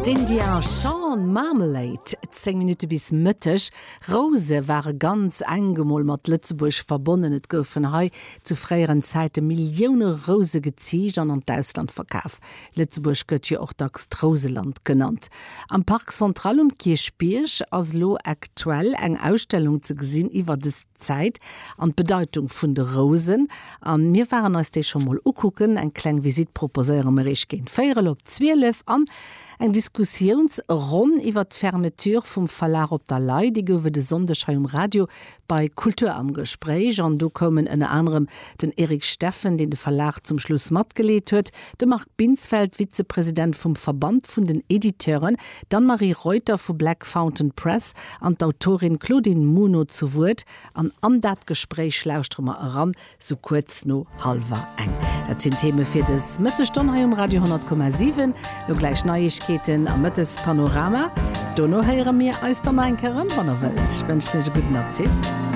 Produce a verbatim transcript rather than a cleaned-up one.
D'India Shawn, Marmalade. Zéng Minutte bis Mëtteg. Rouse ware ganz enk emol mat Lëtzebuerg verbonnen. Et goufen hei zu fréieren Zäite Millioune Rouse geziicht an an d'Ausland verkaf. Lëtzebuerg gëtt jo och dacks d'Rouseland genannt. Am Parc Central um Kierchbierg ass elo aktuell eng Ausstellung ze gesinn iwwer dës Zäit an d'Bedeitung vun de Rousen. An mir waren eis déi scho mol ukucken. Eng kleng Visitt proposéiere mer iech géint véierel op zwielef an eng Diskussiounsronn iwwer d'Fermeture vum Verlag Op der Lay, déi gouf et e Sonndeg hei um Radio bei Kultur am Gespréich. An do koumen ënner anerem den Eric Steffen, deen de Verlag zum Schluss matgeleet huet, de Marc Binsfeld, Vizepresident vum Verband vun den Editeuren, d'Anne-Marie Reuter vu Black Fountain Press an d'Autorin Claudine Muno zu Wuert. An an dat Gespréich lauschtere mer eran, sou kuerz no hallwer eng. Dat sinn d'Theme fir dës Mëttesstonn hei um Radio honnert Komma siwen. Lo gläich Neiegkeeten am Mëttespanorama. Dono héiere mir eis dann nach eng Kéier erëm, wann der wëllt. Ech wënschen iech e gudden Appetit.